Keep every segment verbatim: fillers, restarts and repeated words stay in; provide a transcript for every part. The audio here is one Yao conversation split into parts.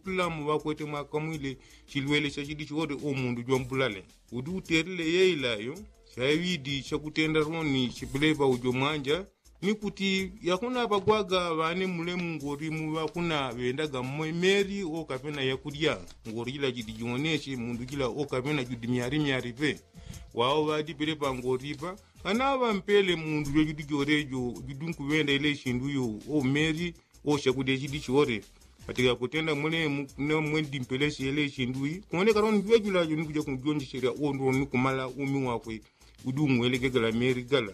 Pulamu ŵakwete mwakamwile chilwele cha chidi chore o mundu jwambulale. Udi utelile yeila yo chaŵidi chakutenda roni chipelepa ujo mwanja. Ni kuti yakuna ŵagwaga ŵane mule mungori mu ŵakuna ŵendaga mmwe meri okapena yakulya. Ngori jila jidi jioneche mundu jila okapena judi myari myari pe. Wao ŵadi pelepa ngori pa kana ŵampele mundu jojudi jore jo judi nkuŵenda ile chindu yo o meri o chakulya chidi chore. Ŵatiga kutenda mule mwendi mpeleche ile chindu i kuoneka roni jwejula jo nikuja kunjonjecherya o ndro nikumala umi wakwe. Udi umwelekegela meri gala.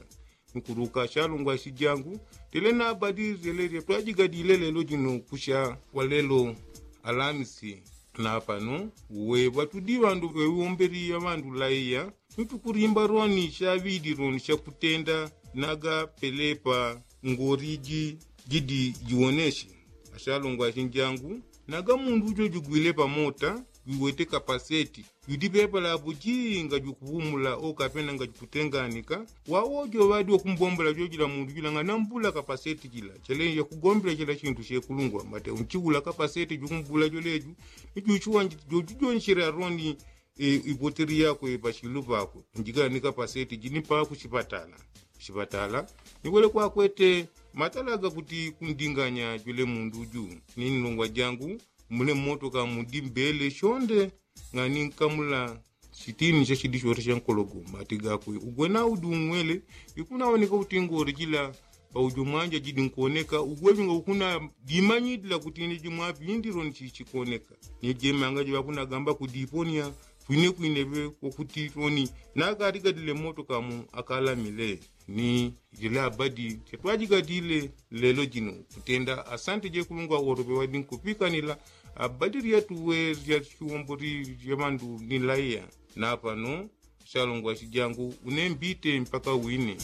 Nkuruka chalungwa chijangu tele nabadi zeleria twajigadile lelo jino kusha kwa lelo alamisi. Na pano uwe ŵatudi ŵandu ŵewomberi ya ŵandu laiya. Nitukurimba roni chaŵidi roni chakutenda naga pelepa ngoriji jidi jiwoneshi. Ashalungwa chinjangu naga mundu ujo jugwile pamota jwiwete kapaseti. Judi pepa lapo jinga jukuvumula okapena nga jukutenganika. Wawojo ŵadi wakumbombola jojila mundu jila nga nambula kapaseti jila chele yakugombela chila chindu chekulungwa mate unchiwula kapaseti jukumbula joleju. Nijuchuwa jojujonchela roni ipoteri yakwe pachilu pakwe. Njikala ni kapaseti jini pakuchipatala. Kuchipatala niwele kwakwete matala gakuti kundinganya jwele mundu ju. Ni nlungwa jangu mule mmotoka mudi mbele shonde. Ngani nkamula chitini cha chidi chore cha nkologo mati gakwe ugwena udi ung'wele. Ikunawoneka kuti ngore jila paujo mwanja jidi nkuoneka ugwejo nga ukuna dimanyidila kuti ine jimwapi indiro nchichikoneka. Ni jemanga jiŵakunagamba kudiponia kwine kwine ŵe wakuti roni. Nagarigadile mmotoka mu akalamile ni jila abadi chatwajigadile. Lelo jino kutenda asante jekulungwa woro ŵewadi nkupikanila abadi ryatuwe rya chiwombori rya ŵandu ni laiya. Na pano chalungwa chijangu une mbite mpaka wine.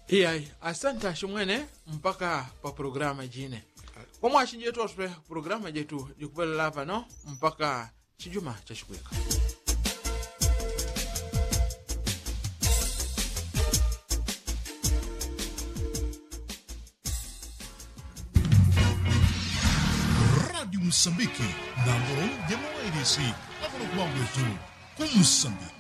Iyai asante ashimwene. Mpaka pa programa jine omwashinji jetu oswe programa jetu jikupelela pano mpaka chijuma chachikwika. Radio musambiki nangolo jamawailisi akono kubangwetu ku musambiki.